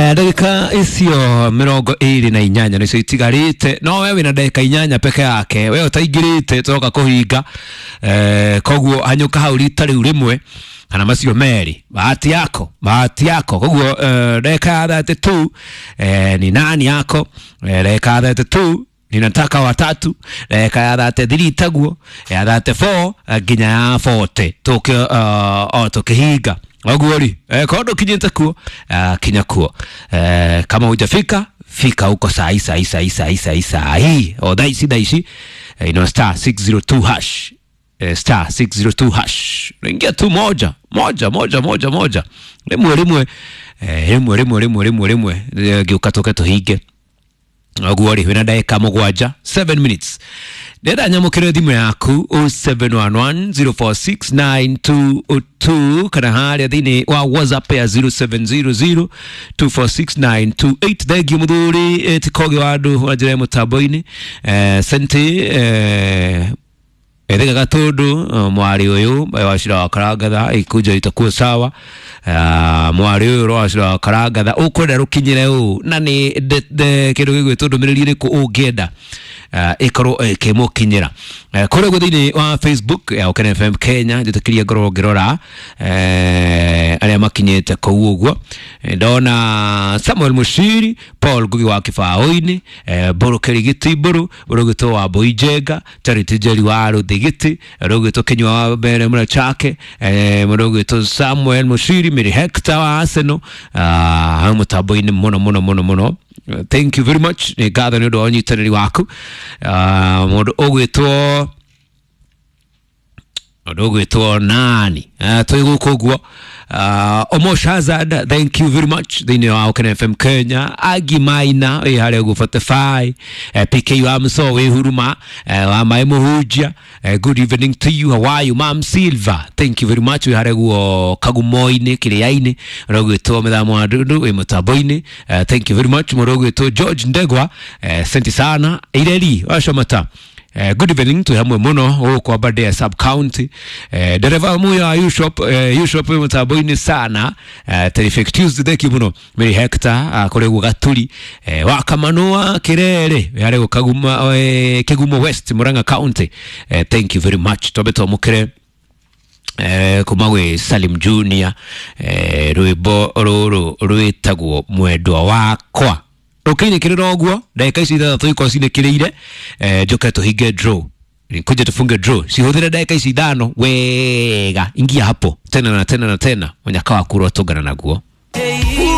Ndagĩka icio 28 nĩcio itigarĩte, no we wĩna ndagĩka 8 peke yake, we ũtaingĩrĩte tũroka kũhinga. Koguo hanyũka hau rita rĩu rĩmwe kana macio merĩ, bahati yako, bahati yako. Koguo ndagĩka ya 32 ni nani yako? Ndagĩka ya 32 ninataka watatu, ndagĩka ya 33 taguo, ya 34 nginya ya 40 tũke o tũkĩhinga ũguo rĩ. Korwo ndũkinyĩte kuo, kinya kuo. Kama hujafika, fika huko saa hii, saa hii, saa hii, saa hii, saa hii, saa hii, o thaa ici, thaa ici. Ino star 602 hash, star 602 hash, unaingia tu moja moja moja moja moja, rĩmwe rĩmwe, rĩmwe rĩmwe rĩmwe rĩmwe rĩmwe, ngĩũka tũke tũhinge ũguo rĩ. Wĩna ndagĩka 7, 7 minutes. Ndĩrenda nyamũkĩre thimũ yaku 0711046922 kana harĩa thĩinĩ wa WhatsApp ya 0700246928. Thengiũ mũthuri tikogi wa andũ wa njĩra ya mũtambo-inĩ, senti ethega gatundu, mwari uyu wacira wa karangatha ikunjo itakuwa sawa. Mwari uyu wacira wa karangatha ukwenda rukinyire uu na ni kindu gigwitwo ndumiriri iriku ungienda ikorwo ikimukinyira kuria guo thiini wa Facebook ya Okene FM Kenya. Njitikirie ngorwo ngirora aria makinyite kuu uguo. Ndona Samuel Mushiri, Paul Ngugi wa Kibaũ-inĩ, Mbũrũ Kĩrigiti, Mbũrũ Ũrũgĩtwo wa Mbũi Njenga, Charity Njeri wa Rũthigiti, Rũgĩtwo Kĩnyua wa Mbere Mũra Chake, Rũgĩtwo Samuel Mushiri, Mary Hector wa Arsenal, hau mũtambo-inĩ mũno mũno mũno mũno. Thank you very much, nĩ ngatho nĩ ũndũ wa ũnyitanĩri waku. Mũndũ ũgwĩtwo nani? Twĩ gũkũ ũguo. Omosh Hazard, thank you very much thĩinĩ wa Okene FM Kenya. Agi Maina wĩ harĩa ũguo 45, PK wa Mso wĩ Huruma, wa Maĩ Mũhunjia, good evening to you, how are you? Mam Silva, thank you very much, wĩ harĩa ũguo Kagumo-inĩ Kĩrĩa-inĩ. Ũrogwĩtwo Mĩthamo wa Ndundu wĩ mũtambo-inĩ, thank you very much. Mũndũ ũgwĩtwo George Ndegwa, senti sana. Ireri wacomata, good evening, twĩ hamwe mũno gũkũ Aberdare sub county. Dereva muya wa U-shop, U-shop wĩ mũtambo-inĩ sana. Terrific Tuesday, thank you mũno. Mary Hector, kũrĩ guo Gaturi, wa Kamanua Kirere wĩ harĩa guo Kaguma, Kigumo West, Murang'a County, thank you very much. Twambe twamũkĩre kuma gwĩ Salim Junior, rwĩmbo rũrũ rwĩtagwo Mwendwa Wakwa. Rũkĩinĩkĩrĩra ũguo ndagĩka ici 6 ikorwo cinĩkĩrĩire, njoke tũhinge draw, kuja tufunge draw. Cihũthĩre ndagĩka ici 5 wega, ingia hapo tena na tena na tena, mũnyaka waku ũrotũngana naguo.